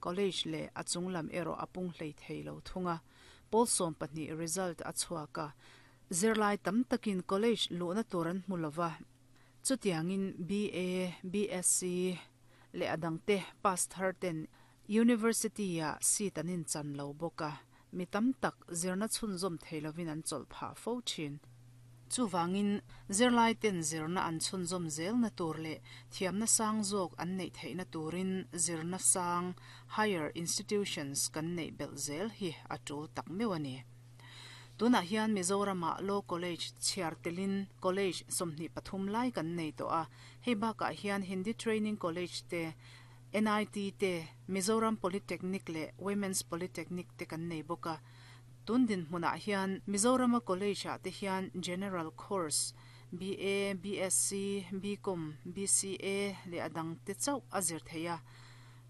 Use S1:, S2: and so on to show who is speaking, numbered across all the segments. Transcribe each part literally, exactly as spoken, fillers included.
S1: College leh a chunglam erawh a pung hlei thei lo thung a. Pawl sawm pahnih result a chhuak a, zirlai tam takin college luhna tur an hmu lova. Chutiangin B A, B S C leh a dangte pass thar ten University ah seat an inchan lo bawk a, mi tam tak zirna chhunzawm thei lovin an chawlh phah fo thin. Chuvangin zirlai ten zirna an chhunzawm zelna tur leh thiamna sang zawk an neih theihna turin zirna sang, higher institutions, kan neih belh zel hi a tul tak meuh a ni. Tunah hian Mizorama Law College chhiar telin college sawmhnih pathum lai kan nei tawh a. Hei bakah hian Hindi Training College te, N I T te, Mizoram Polytechnic leh Women's Polytechnic te kan nei bawk a. Tun dinhmunah hian Mizorama college ah te hian general course B A, B S C, B Com, B C A leh a dang te chauh a zir thei a.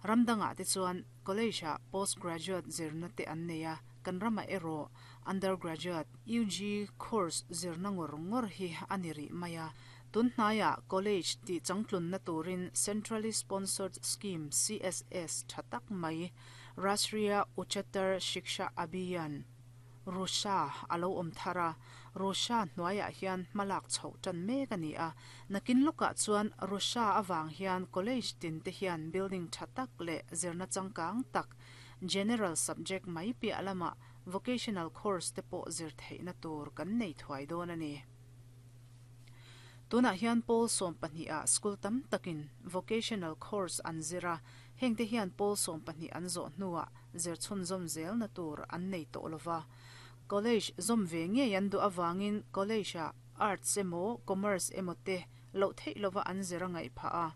S1: Ram dangah te chuan college ah postgraduate zirna te an nei a, kan ramah erawh undergraduate, U G course zirna ngawr ngawr hi a ni rih mai a. Tun hnaiah college tih changtlunna turin Centrally Sponsored Scheme, C S S, tha tak mai Rashtriya Uchchatar Shiksha Abhiyan, RUSHA, a lo awm thar a. RUSHA hnuaiah hian hmalak chhoh tan mek a ni a. Nakin lawkah chuan RUSHA avang hian college tin te hian building tha tak leh zirna changkang tak, general subject mai piah lamah vocational course te pawh zir theihna tur kan nei thuai dawn a ni. Tunah hian pawl sawm pahnih ah school tam takin vocational course an zir a. Heng te hian pawl sawm pahnih an zawh hnuah zir chhunzawm zelna tur an nei tawh lova. College zawm ve ngei an duh avangin college ah arts emaw commerce emaw te loh theih lova an zir a ngaih phah a.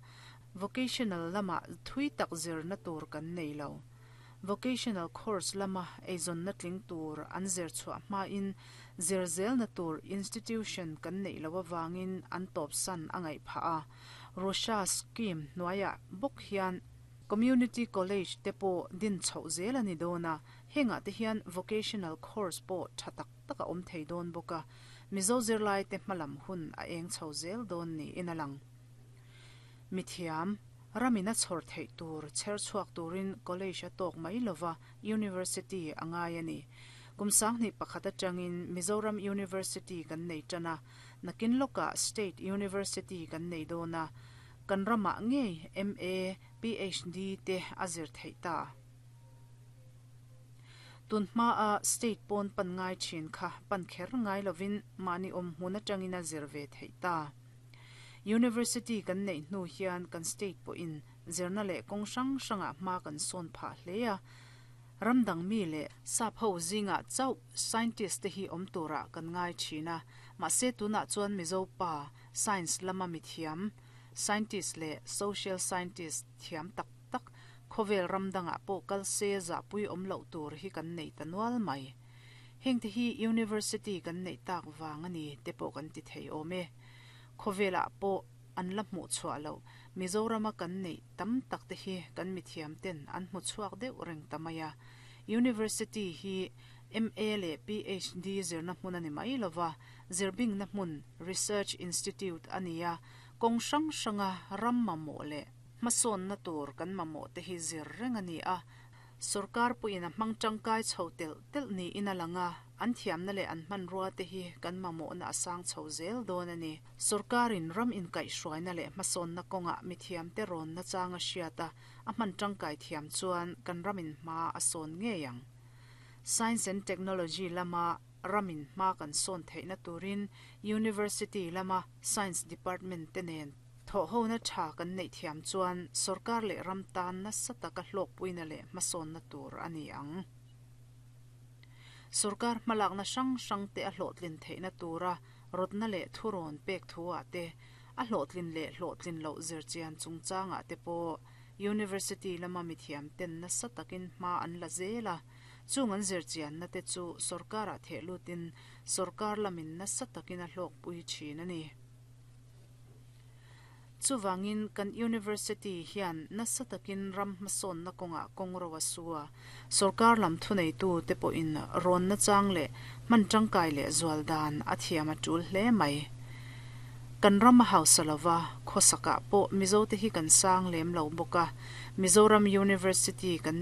S1: Vocational lamah thui tak zirna tur kan nei lo. Vocational course lama eizawnna tling tur an zir chhuah hmain zir zelna tur institution kan neih lo awangin an tawp san a ngaih phah a. RUSHA scheme hnuaiah bawk hian community college te pawh din chhoh zel a ni dawn a. Hengah te hian vocational course pawh tha tak tak a awm thei dawn bawk a. Mizo zirlai te hmalam hun a eng chho zel dawn niin a lang. Mithiam ramina chhawr theih tur chher chhuak turin college a tawk mai lova, university a ngai a ni. Kum sanghnih pakhat atangin Mizoram University kan nei tan a. Nakin lawkah State University kan nei dawn a. Kan ramah ngei M A, P H D te a zir theih ta. Tun hma a state pawn pan ngai thin kha pan kher ngai lovin mahni awm hmun atangin a zir ve theih ta. University kan neih hnu hian kan state pawhin zirna leh kawng hrang hrangah hma kan sawn phah hle a. Ramdang mi leh sap ho zingah chauh scientist te hi awm turah kan ngai thin a. Mahse tunah chuan Mizo pa science lama mithiam, scientist leh social scientist thiam tak tak, khawvel ramdangah pawh kal se zahpui awm loh tur hi kan nei ta nual mai. Heng te hi university kan neih tak wang ani te pawh kan ti thei awm e. Khawvelah pawh an la hmuh chhuah lo Mizorama kan neih tam tak te hi kan mithiam ten an hmu chhuak deuh reng ta mai a. University hi M A leh P H D zirna hmun ani mai lova, zirbingna hmun, research institute ani a. Kawng hrang hranga ram mamawh leh hmasawnna tur kan mamawh te hi zir reng ani a. Sarkar puin a hmang tangkai chho tel tel niin a lang a. An thiamna leh an hmanrua te hi kan mamawhna a sang chho zel dawn ani. Sarkarin ram inkaihhruaina leh hmasawnna kawngah mithiam te rawn na changa hriata a hman tangkai thiam chuan kan ramin hma a sawn ngei ang. Science and technology lama ramin hma kan sawn theihna turin university lama science department te nen thawh hona tha kan neih thiam chuan sarkar leh ram tan nasa taka hlawk puina leh hmasawnna tur ani ang. Sarkar hmalakna hrang hrang te a hlawhtlin theihna tura rawtna leh thurawn pek thuah te, a hlawhtlin leh hlawhtlin loh zirchian chungchangah te pawh university lama mithiam ten nasa takin hma an la zel a. Chung an zirchianna te chu sarkarah theh lutin sarkar lamin nasa takin a hlawk pui thin ani. Chuwangin kan university hian nasa takin ram hmasawnna kawngah kawng ro a su a. Sarkar lam thunei tu te pawhin rawn na chang leh hman tangkai leh zual dan a thiam a tul hle mai. Kan ram a hausa lova, khawsakah pawh Mizo te hi kan sang lem lo bawk a. Mizoram University kan